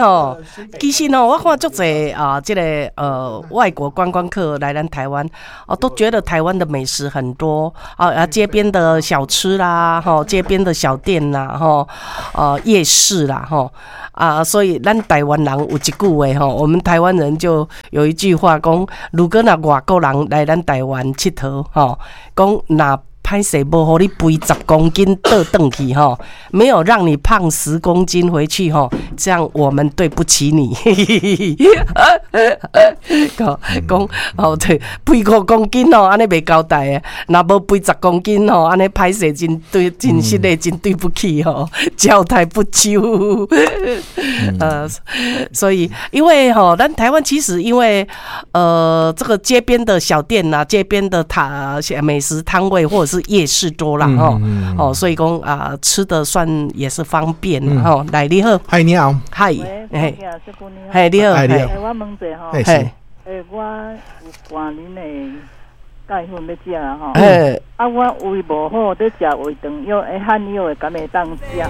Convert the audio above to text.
吼，其實吼，我看足濟啊，這个外國觀光客來咱台灣，哦，都覺得台灣的美食很多啊，街邊的小吃啦，吼，街邊的小店啦，吼，夜市啦，吼，啊，所以咱台灣人有一句話吼，我們台灣人就有一句話講，如果若外國人來咱台灣𨑨迌，吼，講若歹勢無予你肥十公斤倒轉去吼，沒有讓你胖十公斤回去吼，這樣我們對不起你。講講哦，對，肥5公斤哦，按呢袂交代的，若無肥十公斤吼，按呢歹勢真對，真實的真對不起吼，交代不周。所以因為吼，咱台灣其實因為這個街邊的小店呐，街邊的攤美食攤位或者是夜市多啦，吼，哦，所以講啊，吃的算也是方便吼。來，你好，嗨，你好，嗨，嘿，嘿，你好，你好，我問者吼，我有灌恁的鈣粉欲食吼，啊，我胃無好，咧食胃腸藥，漢藥的敢會當食？